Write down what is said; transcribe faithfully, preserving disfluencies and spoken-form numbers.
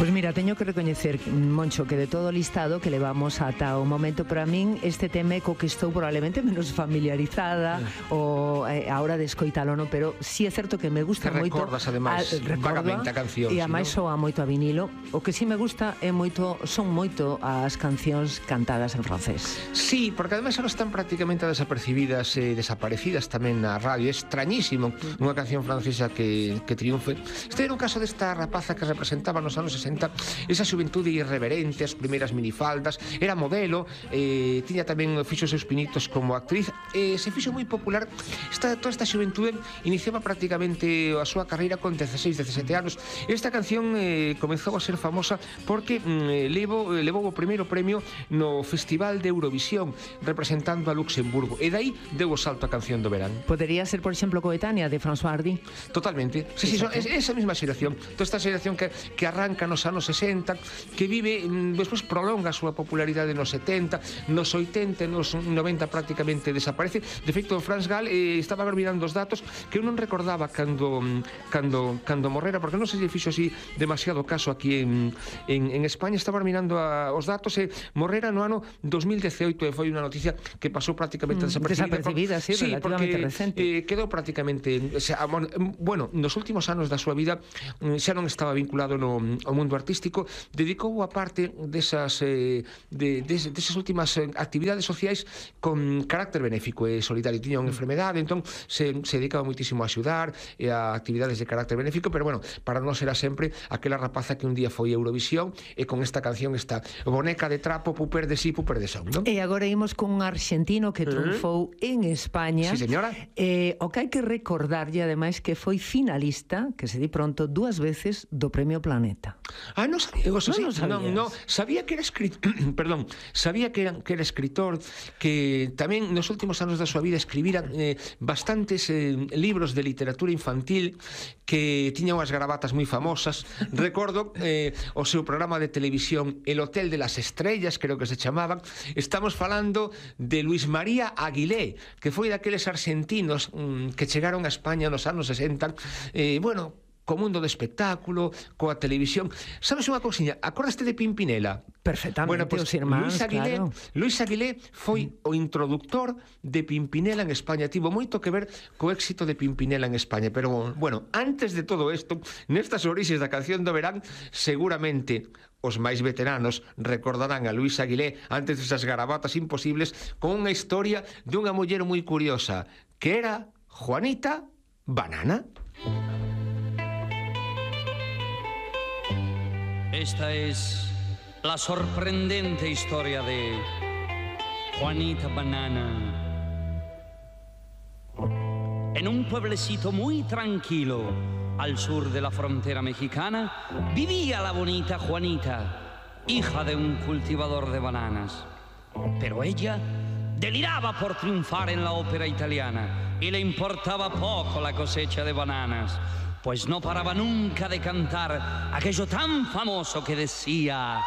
Pois mira, teño que recoñecer, Moncho, que de todo o listado que levamos ata o momento, para min este tema co que estou probablemente menos familiarizada ou eh, a hora de escoitalo, no? Pero si sí é certo que me gusta que moito. Recordas, ademais, vagamente a canción. E ademais ¿sí, no? soa moito a vinilo. O que si sí me gusta é moito, son moito as cancións cantadas en francés. Sí, porque ademais ahora están prácticamente desapercibidas e eh, desaparecidas tamén na radio. É extrañísimo unha canción francesa que, que triunfe. Este era un caso desta rapaza que representaba nos anos sesenta esa xuventude irreverente, as primeiras minifaldas, era modelo, eh, tiña tamén fixo seus pinitos como actriz, e eh, se fixo moi popular. Esta, toda esta xuventude iniciaba prácticamente a súa carreira con dezaseis, dezasete anos. Esta canción eh, comezou a ser famosa porque mm, levou, levou o primeiro premio no Festival de Eurovisión representando a Luxemburgo, e dai deu o salto a canción do verán. Podería ser, por exemplo, coetánea de François Hardy. Totalmente, sí, sí, son, es, esa mesma xeración, toda esta xeración que, que arranca nos anos sesenta, que vive, despois prolonga a súa popularidade nos setenta, nos oitenta, nos noventa prácticamente desaparece. De feito, Franz Gall eh, estaba mirando os datos que eu non recordaba cando cando cando morrera, porque non se lle fixo así demasiado caso aquí en, en, en España. Estaba mirando a, os datos e morrera no ano dos mil dezaoito, e foi unha noticia que pasou prácticamente desapercibida. Desapercibida, sí, sí, relativamente porque, recente. Eh, quedou prácticamente, o sea, bueno, nos últimos anos da súa vida xa non estaba vinculado no ao mundo artístico, dedicou a parte desas eh, de, de, desas últimas actividades sociais con carácter benéfico e solidario. Tiña unha enfermedade, entón se, se dedicaba moitísimo a axudar e a actividades de carácter benéfico, pero bueno, para non será sempre aquela rapaza que un día foi a Eurovisión e con esta canción, esta boneca de trapo, puper de sí, puper de son, non? E agora imos con un arxentino que triunfou uh-huh. en España. Sí, señora. Eh, o que hai que recordarlle, ademais, que foi finalista, que se di pronto, dúas veces do Premio Planeta. Ah, non sabía, o sea, non, sí, non, no, sabía que era escritor, perdón, sabía que era, que era escritor, que tamén nos últimos anos da súa vida escribira eh, bastantes eh, libros de literatura infantil, que tiña unhas gravatas moi famosas. Recordo eh, o seu programa de televisión El Hotel de las Estrellas, creo que se chamaban. Estamos falando de Luis María Aguilé, que foi daqueles argentinos mm, que chegaron a España nos anos sesenta, eh, bueno, co mundo do espectáculo, coa televisión. Sabes unha cousiña? Acordaste de Pimpinela? Perfectamente, bueno, pues, os irmáns, Luis Aguilé, claro. Luis Aguilé foi o introductor de Pimpinela en España. Tivo moito que ver co éxito de Pimpinela en España. Pero, bueno, antes de todo isto, nestas orixes da canción do verán, seguramente os máis veteranos recordarán a Luis Aguilé antes desas garabatas imposibles con unha historia dunha muller moi curiosa, que era Juanita Banana. Esta es la sorprendente historia de Juanita Banana. En un pueblecito muy tranquilo al sur de la frontera mexicana vivía la bonita Juanita, hija de un cultivador de bananas. Pero ella deliraba por triunfar en la ópera italiana y le importaba poco la cosecha de bananas, pues no paraba nunca de cantar aquello tan famoso que decía: